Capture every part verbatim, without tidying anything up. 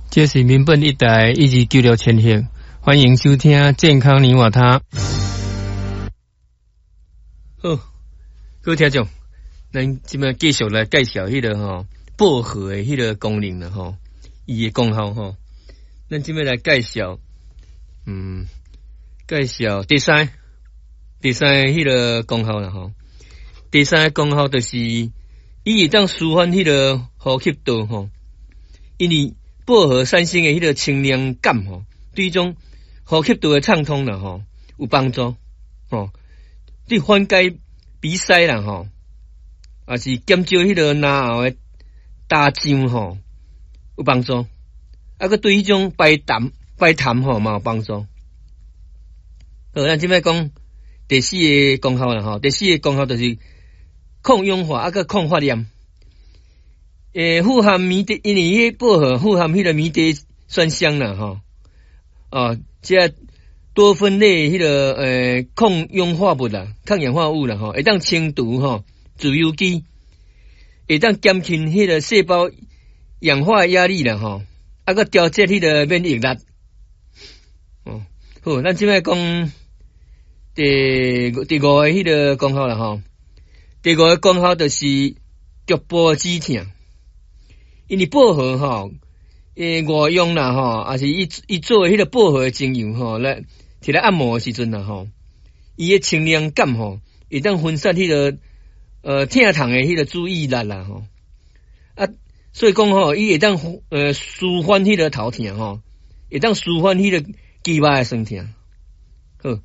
這是民本一台一二九六千赫，歡迎收聽健康你我他。好，各位聽眾，咱這擺繼續來介紹彼個吼薄荷的彼個功能啦吼，伊的功效吼。咱這擺來介紹，嗯，介紹第三，第三彼個功效啦吼。第三個功效就是，伊會當舒緩彼個呼吸道吼，因為薄荷產生的彼個清涼感吼，對這種呼吸道的暢通啦吼有幫助吼，對緩解鼻塞啦吼，也是減少彼個咽喉的焦脹吼有幫助，啊，閣對彼種排痰排痰吼嘛有幫助。好，咱這擺講第四個功效啦吼，第四個功效就是抗氧化啊，閣抗發炎。欸，富含迷迭，因為彼個薄荷富含彼個迷迭酸香啦，吼，哦，這多酚類彼個欸抗氧化物啦，抗氧化物啦，吼，會當清除吼自由基，會當減輕彼個細胞氧化壓力啦，吼，啊，閣調節彼個免疫力。哦，好，咱這擺講第第五個彼個功效啦，吼，第五個功效就是局部止痛。因為薄荷吼，欸外用啦吼，抑是伊伊做的彼個薄荷的精油吼，來摕來按摩的時陣啦吼，伊的清涼感吼，會當分散彼個呃疼痛的彼個注意力啦吼，啊，所以講吼，伊會當呃舒緩彼個頭痛吼，會當舒緩彼個肌肉的酸痛。好，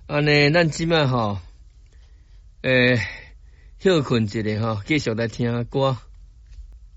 按呢，咱這擺吼，欸，歇睏一下吼，繼續來聽歌。